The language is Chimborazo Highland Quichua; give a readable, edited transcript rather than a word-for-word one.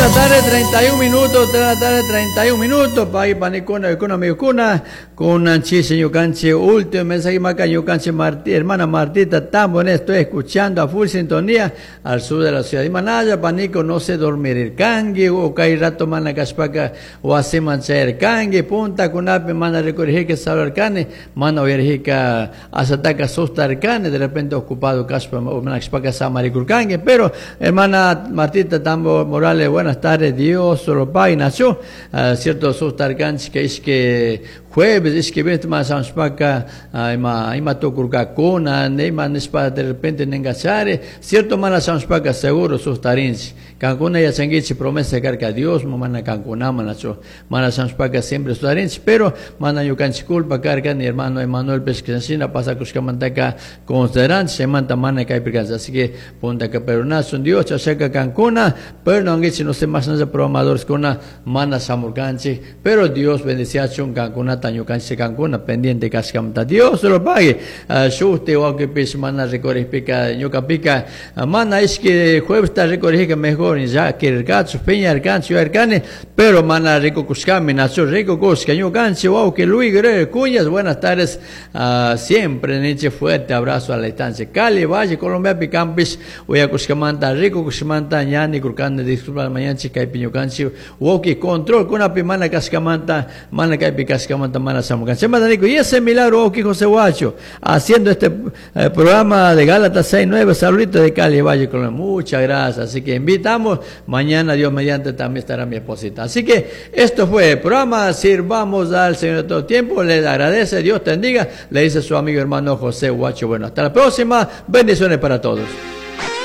de la tarde, 31 minutos, 3 de la tarde, 31 minutos. Pay, panicuna, kuna, miyukuna, con chise, ñukanchi, último mensaje, maca, ñukanchi, Marti, hermana Martita Tambo, estoy escuchando a full sintonía al sur de la ciudad de Manaya, panico, no sé dormir el cangui, o kay rato mana kashpaka, wasiman chayar cangui, punta kunapi, mana recorrijika saludarkani, mana uyarrijika, asataka sustarkani, de repente ocupado kashpa, mana kashpaka samarikurkangi, pero hermana Martita Tambo Morales, buenas tardes, Dios lo pague, nació, cierto sustarkanchi, que es que jueves, es que viernes más samspaka, ima, ima tukurkakuna, ima nishpa de repente nengachare, cierto mana samspaka seguro sustarinchi, kankuna yachankichi promesa karka Dios, mana kankuna manacho, mana samspaka siempre sustarinchi, pero mana ñukanchik culpa karka, ni hermano Emanuel Pesquisina pasa kushkamantaka consideranchi, chaymanta mana kaypirkanchik, así que punta que perunasun Dios, chashaka kankuna, pero no angichi, no sé más nada programadores kuna, mana samurkanchik, pero Dios bendeciachun kankunata ñukanchik kankuna pendiente kashkamanta, Dios se lo pague. Shusti wawqipish mana rikurikpika ñukapika, mana ishki jueves ta rikurikpika mejor ya kirirkachu, piñarkanchu, yuyarkani, pero mana rikukushkami, nacho rikukushka ñukanchik wawqi Luis Guerrero Cuñas, buenas tardes, siempre niche fuerte abrazo a la distancia. Cali, Valle, Colombia, Picampis, uyakushkamanta, rikukushkamanta, ñani kurkani, disculpa mañanchik kaypi ñukanchik wawqi control kunapi mana kashkamanta, mana kaypi kashkamanta, mana shamukanchik. Chaymanta niku, y ese milagro wawqi José Huacho, haciendo este programa de Gálatas 6:9, saluditos de Cali, Valle, Colombia. Muchas gracias. Así que invitamos, mañana Dios mediante también estará mi esposita. Así que esto fue el programa Sirvamos al Señor de todo tiempo. Les agradece, Dios te bendiga, le dice su amigo hermano José Huacho. Bueno, hasta la próxima. Bendiciones para todos.